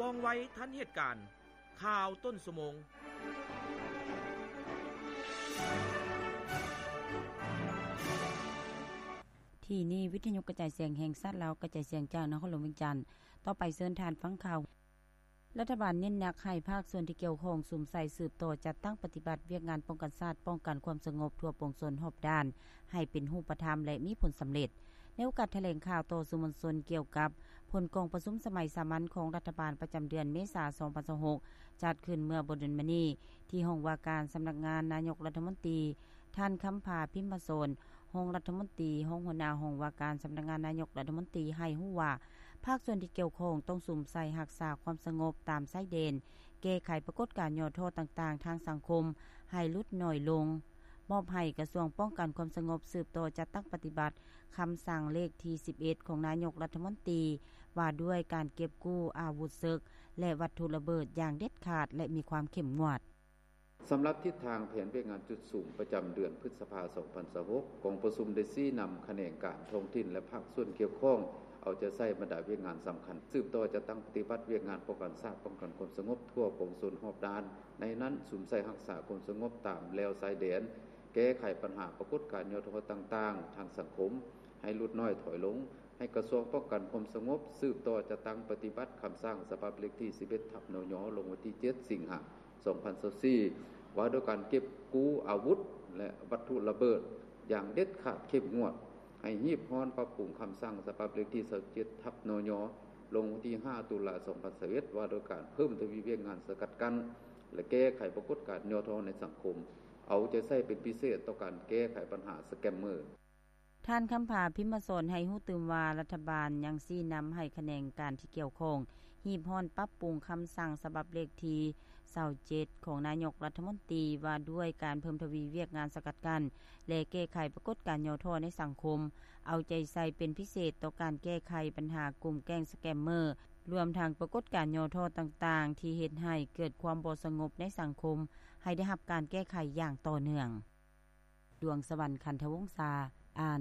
ວ່ອງໄວທັນເຫດການ. ຂ່າວຕົ້ນຊົ່ວໂມງ. ທີ່ນີ້ ວິທະຍຸກະຈາຍສຽງແຫ່ງຊາດລາວ ກະຈາຍສຽງຈາກນະຄອນຫຼວງວຽງຈັນ. ຕໍ່ໄປເຊີນທ່ານຟັງຂ່າວ. ລັດຖະບານເນັ້ນໜັກໃຫ້ພາກສ່ວນທີ່ກ່ຽວຂ້ອງສຸມໃສ່ສືບຕໍ່ຈັດຕັ້ງປະຕິບັດວຽກງານປ້ອງກັນຊາດ, ປ້ອງກັນຄວາມສະຫງົບທົ່ວປວງຊົນຮອບດ້ານ ໃຫ້ເປັນຮູບປະທຳ ແລະ ມີຜົນສຳເລັດ. ໃນໂອກາດຖະແຫຼງຂ່າວຕໍ່ສື່ມວນຊົນກ່ຽວກັບຜົນກອງປະຊຸມສະໄໝສາມັນຂອງລັດຖະບານປະຈຳເດືອນເມສາ ສອງພັນຊາວຫົກ ຈັດຂຶ້ນເມື່ອບໍ່ດົນມານີ້ ທີ່ຫ້ອງວ່າການສຳນັກງານນາຍົກລັດຖະມົນຕີ, ທ່ານ ຄຳຜາ ພິມມະສອນ ຮອງລັດຖະມົນຕີ, ຮອງຫົວໜ້າຫ້ອງວ່າການສຳນັກງານນາຍົກລັດຖະມົນຕີ ໃຫ້ຮູ້ວ່າ ພາກສ່ວນທີ່ກ່ຽວຂ້ອງຕ້ອງສຸມໃສ່ຮັກສາຄວາມສະຫງົບຕາມຊາຍແດນ, ແກ້ໄຂປາກົດການຫຍໍ້ທໍ້ຕ່າງໆທາງສັງຄົມໃຫ້ຫຼຸດໜ້ອຍລົງ, ມອບໃຫ້ກະຊວງປ້ອງກັນຄວາມສະຫງົບສືບຕໍ່ຈັດຕັ້ງປະຕິບັດຄຳສັ່ງເລກທີສິບເອັດ ຂອງນາຍົກລັດຖະມົນຕີ ວ່າດ້ວຍການເກັບກູ້ອາວຸດເສິກ ແລະ ວັດຖຸລະເບີດຢ່າງເດັດຂາດ ແລະ ມີຄວາມເຂັ້ມງວດ. ສຳລັບທິດທາງແຜນວຽກງານຈຸດສຸມປະຈຳເດືອນພຶດສະພາ ສອງພັນຊາວຫົກ ກອງປະຊຸມໄດ້ຊີ້ນຳຂະແໜງການທ້ອງຖິ່ນ ແລະ ພາກສ່ວນກ່ຽວຂ້ອງ ເອົາໃຈໃສ່ບັນດາວຽກງານສຳຄັນ ສືບຕໍ່ຈັດຕັ້ງປະຕິບັດວຽກງານປ້ອງກັນຊາດ, ປ້ອງກັນຄວາມສະຫງົບທົ່ວປວງຊົນຮອບດ້ານ. ໃນນັ້ນ ສຸມໃສ່ຮັກສາຄວາມສະຫງົບຕາມແລວຊາຍແດນ, ແກ້ໄຂບັນຫາປາກົດການຫຍໍ້ທໍ້ຕ່າງໆທາງສັງຄົມໃຫ້ຫຼຸດໜ້ອຍຖອຍລົງ, ໃຫ້ກະຊວງປ້ອງກັນຄວາມສະຫງົບສືບຕໍ່ຈັດຕັ້ງປະຕິບັດຄຳສັ່ງສະບັບເລກທີສິບເອັດ ທັບ ນຍ ລົງວັນທີເຈັດ ສິງຫາ ສອງພັນຊາວສີ່ ວ່າດ້ວຍການເກັບກູ້ອາວຸດ ແລະ ວັດຖຸລະເບີດຢ່າງເດັດຂາດເຂັ້ມງວດ, ໃຫ້ຮີບຮ້ອນປັບປຸງຄຳສັ່ງສະບັບເລກທີຊາວເຈັດ ທັບ ນຍ ລົງວັນທີຫ້າ ຕຸລາ ສອງພັນຊາວເອັດ ວ່າດ້ວຍການເພີ່ມທະວີວຽກງານສະກັດກັ້ນ ແລະ ແກ້ໄຂປາກົດການຫຍໍ້ທໍ້ໃນສັງຄົມ, ເອົາໃຈໃສ່ເປັນພິເສດຕໍ່ການແກ້ໄຂບັນຫາສະແກມເມີ. ທ່ານ ຄຳຜາ ພິມມະສອນ ໃຫ້ຮູ້ຕື່ມວ່າ ລັດຖະບານຍັງຊີ້ນຳໃຫ້ຂະແໜງການທີ່ກ່ຽວຂ້ອງ ຮີບຮ້ອນປັບປຸງຄຳສັ່ງສະບັບເລກທີຊາວເຈັດ ຂອງນາຍົກລັດຖະມົນຕີ ວ່າດ້ວຍການເພີ່ມທະວີວຽກງານສະກັດກັ້ນ ແລະ ແກ້ໄຂປາກົດການຫຍໍ້ທໍ້ໃນສັງຄົມ, ເອົາໃຈໃສ່ເປັນພິເສດຕໍ່ການແກ້ໄຂບັນຫາກຸ່ມແກ້ງສະແກມເມີ, ລວມທັງປາກົດການຫຍໍ້ທໍ້ຕ່າງໆ ທີ່ເຮັດໃຫ້ເກີດຄວາມບໍ່ສະຫງົບໃນສັງຄົມ ໃຫ້ໄດ້ຮັບການແກ້ໄຂຢ່າງຕໍ່ເນື່ອງ. ດວງສະຫວັນ ຄັນທະວົງສາ ອ່ານ.